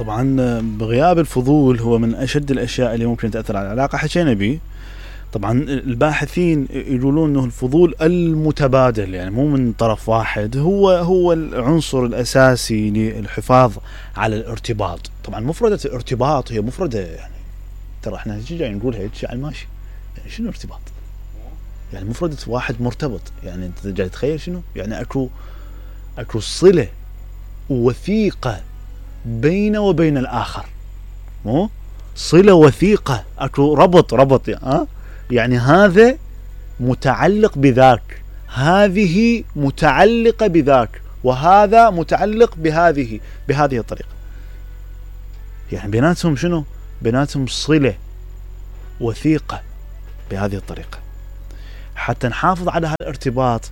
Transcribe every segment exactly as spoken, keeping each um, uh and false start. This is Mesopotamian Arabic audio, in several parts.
طبعا بغياب الفضول هو من أشد الأشياء اللي ممكن تأثر على العلاقة. حكينا بيه. طبعا الباحثين يقولون انه الفضول المتبادل يعني مو من طرف واحد هو هو العنصر الاساسي للحفاظ على الارتباط. طبعا مفردة الارتباط هي مفردة يعني ترى احنا جاي نقولها هيك يعني ماشي، يعني شنو ارتباط؟ يعني مفردة واحد مرتبط، يعني انت جاي تتخيل شنو؟ يعني اكو اكو صلة وثيقة بين وبين الاخر، مو صلة وثيقة، اكو ربط ربط يعني ها؟ يعني هذا متعلق بذاك، هذه متعلقة بذاك، وهذا متعلق بهذه بهذه الطريقة. يعني بيناتهم شنو؟ بيناتهم صلة وثيقة بهذه الطريقة. حتى نحافظ على هذا الارتباط،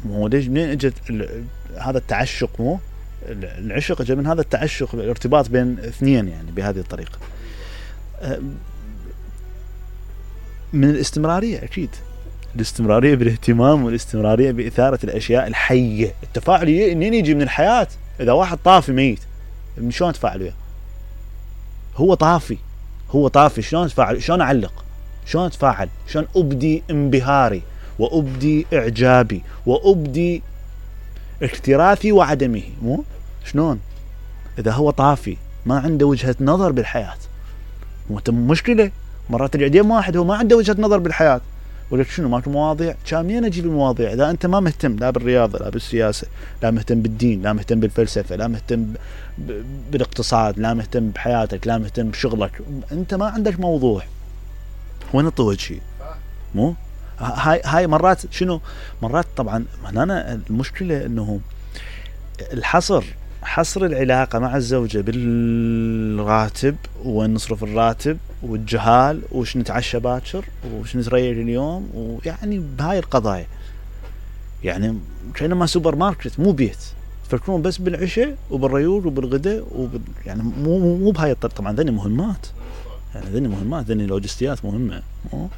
مو ليش منين اجت هذا التعشق؟ مو العشق اجى من هذا التعشق، الارتباط بين اثنين يعني بهذه الطريقة. من الاستمرارية أكيد، الاستمرارية بالاهتمام والاستمرارية بإثارة الأشياء الحية. التفاعل منين يجي؟ من الحياة. إذا واحد طافي ميت من شلون أتفاعل وياه؟ هو طافي هو طافي شلون أتفاعل؟ شلون أعلق؟ شلون أتفاعل؟ شلون أبدي انبهاري وأبدي إعجابي وأبدي اكتراثي وعدمه؟ مو شلون إذا هو طافي ما عنده وجهة نظر بالحياة؟ مشكلة. مرات العديم واحد هو ما عنده وجهة نظر بالحياة، ولك شنو ماكو مواضيع؟ كامين اجيب المواضيع اذا انت ما مهتم لا بالرياضة لا بالسياسة لا مهتم بالدين لا مهتم بالفلسفة لا مهتم بالاقتصاد لا مهتم بحياتك لا مهتم بشغلك، انت ما عندك موضوع. وين الطوج شيء؟ مو هاي هاي مرات شنو؟ مرات طبعا هنا المشكلة انه الحصر حصر العلاقة مع الزوجة بالراتب، وين نصرف الراتب، والجهال، وش نتعشى باكر، وش نتريق اليوم، ويعني بهاي القضايا. يعني كأنما سوبر ماركت مو بيت، تفكرون بس بالعشاء وبالريول وبالغداء وبال... يعني مو مو بهاي الطريقة. طبعا ذني مهمات، يعني ذني مهمات ذني لوجستيات مهمة، مو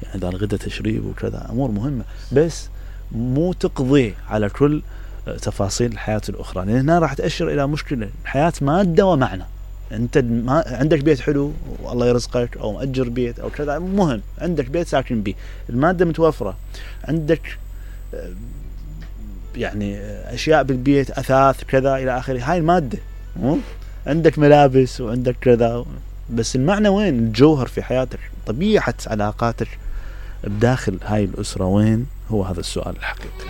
يعني ذا الغداء تشريب وكذا أمور مهمة، بس مو تقضي على كل تفاصيل الحياة الأخرى. لأن هنا راح تأشر إلى مشكلة. الحياة مادة ومعنى. أنت ما عندك بيت حلو والله يرزقك، أو مأجر بيت أو كذا، مهم عندك بيت ساكن به، المادة متوفرة عندك، يعني أشياء بالبيت أثاث كذا إلى آخره، هاي المادة. عندك ملابس وعندك كذا، بس المعنى وين؟ الجوهر في حياتك، طبيعة علاقاتك بداخل هاي الأسرة وين؟ هو هذا السؤال الحقيقي.